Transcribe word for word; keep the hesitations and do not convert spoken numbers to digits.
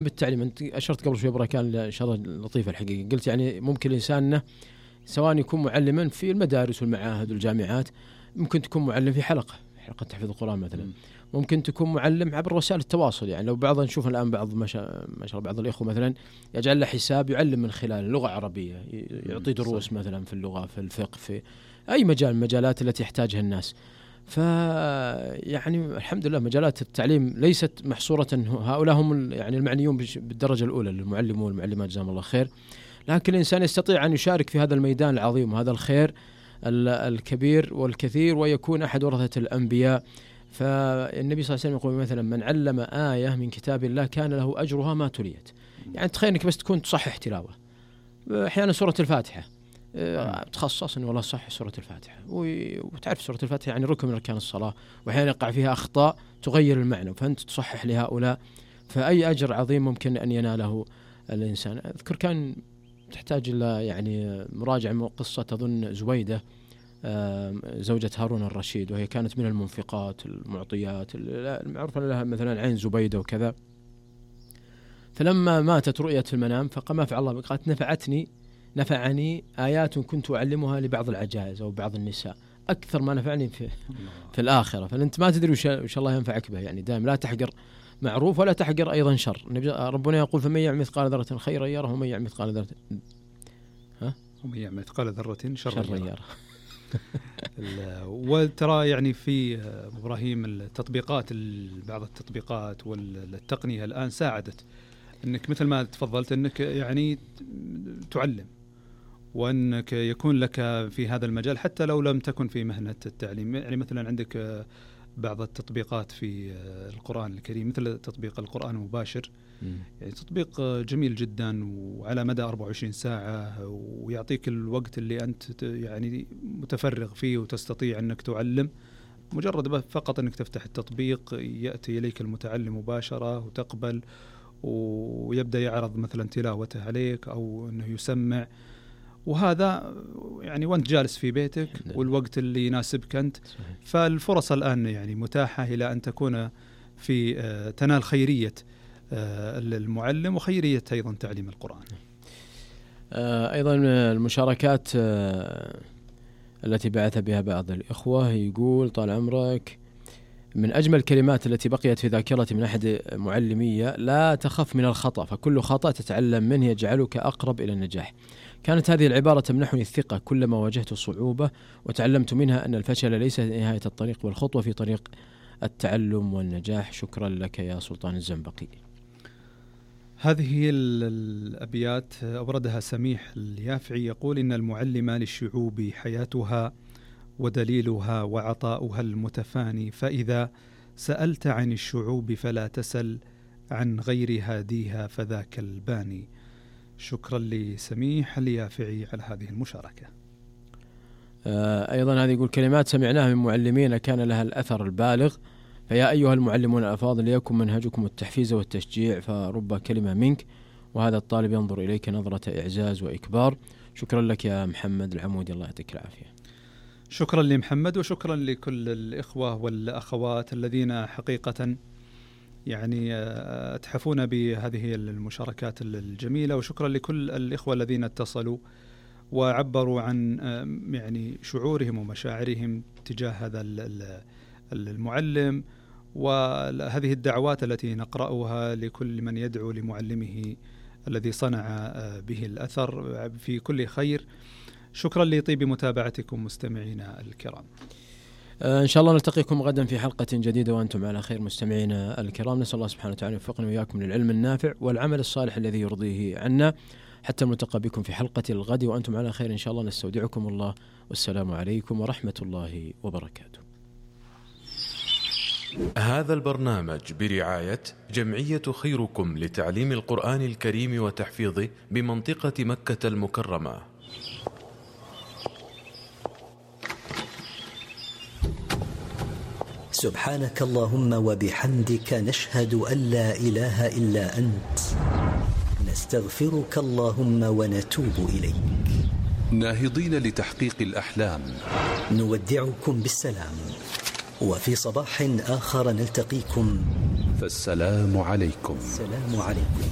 بالتعليم. أنت أشرت قبل شوي بركان إشارة لطيفة الحقيقة، قلت يعني ممكن الإنسان سواء يكون معلما في المدارس والمعاهد والجامعات، ممكن تكون معلم في حلقة حلقة تحفيظ القرآن مثلا، ممكن تكون معلم عبر وسائل التواصل. يعني لو بعض نشوف الآن بعض ما شاء الله بعض الإخوة مثلا يجعل له حساب يعلم من خلال اللغة العربية، يعطي دروس مثلا في اللغة في الفقه في أي مجال من المجالات التي يحتاجها الناس. ف يعني الحمد لله مجالات التعليم ليست محصورة، هؤلاء هم يعني المعنيون بالدرجة الأولى المعلمون والمعلمات جزاهم الله خير، لكن الإنسان يستطيع أن يشارك في هذا الميدان العظيم وهذا الخير الكبير والكثير، ويكون أحد ورثة الأنبياء. فالنبي صلى الله عليه وسلم يقول مثلا من علم آية من كتاب الله كان له أجرها ما تليت. يعني تخيل أنك بس تكون تصحح تلاوة أحيانا سورة الفاتحة، تخصص إنه والله صح سورة الفاتحة، وتعرف سورة الفاتحة يعني ركن من أركان الصلاة، وأحيانا يقع فيها أخطاء تغير المعنى، فأنت تصحح لهؤلاء، فأي أجر عظيم ممكن أن يناله الإنسان. أذكر كان تحتاج إلى يعني مراجعة قصة أظن زبيدة زوجة هارون الرشيد، وهي كانت من المنفقات المعطيات المعروفة لها مثلا عين زبيدة وكذا. فلما ماتت رؤيت في المنام فقام فعل الله قالت نفعتني نفعني آيات كنت أعلمها لبعض العجائز أو بعض النساء أكثر ما نفعني في, في الآخرة. فأنت ما تدري وش الله ينفعك به، يعني دائما لا تحقر معروف ولا تحقر أيضا شر. ربنا يقول فمن يعمل مثقال ذرة خيرا يره ومن يعمل مثقال ذرة ها ومن يعمل مثقال ذرة شرا يره. وترى يعني في إبراهيم التطبيقات بعض التطبيقات والتقنية الآن ساعدت أنك مثل ما تفضلت أنك يعني تعلم، وأنك يكون لك في هذا المجال حتى لو لم تكن في مهنة التعليم. يعني مثلا عندك بعض التطبيقات في القرآن الكريم مثل تطبيق القرآن المباشر، يعني تطبيق جميل جدا وعلى مدى أربعة وعشرين ساعة، ويعطيك الوقت اللي أنت يعني متفرغ فيه وتستطيع أنك تعلم. مجرد فقط أنك تفتح التطبيق يأتي إليك المتعلم مباشرة وتقبل، ويبدأ يعرض مثلا تلاوته عليك أو أنه يسمع، وهذا يعني وأنت جالس في بيتك والوقت اللي يناسبك أنت. فالفرص الآن يعني متاحة إلى أن تكون في تنال خيرية المعلم وخيرية أيضا تعليم القرآن. أيضا المشاركات التي بعث بها بعض الإخوة يقول طال عمرك من أجمل الكلمات التي بقيت في ذاكرتي من أحد معلمية لا تخف من الخطأ فكل خطأ تتعلم منه يجعلك أقرب إلى النجاح. كانت هذه العبارة تمنحني الثقة كلما واجهت صعوبة، وتعلمت منها أن الفشل ليس نهاية الطريق والخطوة في طريق التعلم والنجاح. شكرا لك يا سلطان الزنبقي. هذه الأبيات أوردها سميح اليافعي، يقول إن المعلم للشعوب حياتها ودليلها وعطاؤها المتفاني، فإذا سألت عن الشعوب فلا تسل عن غير هاديها فذاك الباني. شكرا لسميح اليافعي على هذه المشاركة. أيضا هذه يقول كلمات سمعناها من معلمين كان لها الأثر البالغ، فيا أيها المعلمون الأفاضل ليكن منهجكم التحفيز والتشجيع، فرب كلمة منك وهذا الطالب ينظر إليك نظرة إعزاز وإكبار. شكرا لك يا محمد العمودي، الله يعطيك العافية. شكرا لمحمد وشكرا لكل الإخوة والأخوات الذين حقيقة يعني أتحفون بهذه المشاركات الجميلة، وشكرا لكل الإخوة الذين اتصلوا وعبروا عن يعني شعورهم ومشاعرهم تجاه هذا المعلم، وهذه الدعوات التي نقرأها لكل من يدعو لمعلمه الذي صنع به الأثر في كل خير. شكرا لطيب متابعتكم مستمعينا الكرام. إن شاء الله نلتقيكم غدا في حلقة جديدة وأنتم على خير مستمعينا الكرام. نسأل الله سبحانه وتعالى يوفقنا وإياكم للعلم النافع والعمل الصالح الذي يرضيه عنا، حتى نلتقى بكم في حلقة الغد وأنتم على خير إن شاء الله. نستودعكم الله والسلام عليكم ورحمة الله وبركاته. هذا البرنامج برعاية جمعية خيركم لتعليم القرآن الكريم وتحفيظه بمنطقة مكة المكرمة. سبحانك اللهم وبحمدك نشهد أن لا إله إلا أنت، نستغفرك اللهم ونتوب إليك. ناهضين لتحقيق الأحلام نودعكم بالسلام، وفي صباح آخر نلتقيكم، فالسلام عليكم. السلام عليكم.